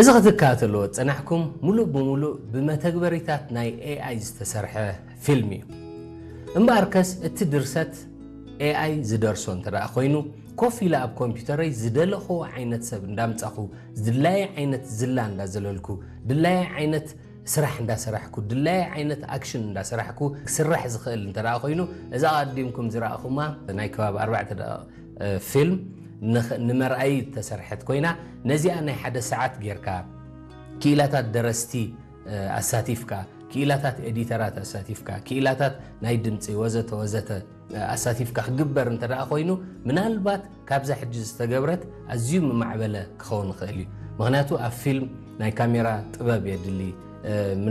እዚ ክትከታተልዎ ዝጸናሕኩም፣ ምሉእ ብምሉእ ብመተግበሪታት ናይ ኤኣይ ዝተሰርሐ ፊልም እዩ። እምበኣርከስ፣ እቲ ድርሰት ኤኣይ ዝደርሶ እንተ ደኣ ኮይኑ፣ ኮፍ ኢለ ኣብ ኮምፒውተረይ ዝደለኽዎ ዓይነት ሰብ እንዳምጻኹ፣ ድላየ ዓይነት ዝላ እንዳዘለልኩ፣ ድላየ ዓይነት ስራሕ እንዳሰራሕኩ፣ ድላየ ዓይነት ኣክሽን እንዳሰራሕኩ ክስራሕ ዝኽእል እንተ ደኣ ኮይኑ፣ እዛ ኣቐዲምኩም ዝረኣኹማ ናይ ከባቢ ኣርባዕተ ደቂቕ ፊልም ንመርኣይ ተሰርሐት ኮይና፣ ነዚኣ ናይ ሓደ ሰዓት ጌርካ፣ ክኢላታት ደረስቲ ኣሳቲፍካ፣ ክኢላታት ኤዲተራት ኣሳቲፍካ፣ ክኢላታት ናይ ድምፂ ወዘተ ወዘተ ኣሳቲፍካ ክግበር እንተ ደኣ ኮይኑ፣ ምናልባት ካብዛ ሕጂ ዝተገብረት ኣዝዩ ምማዕበለ ክኸውን ይኽእል እዩ። ምኽንያቱ ኣብ ፊልም ናይ ካሜራ ጥበብ የድሊ።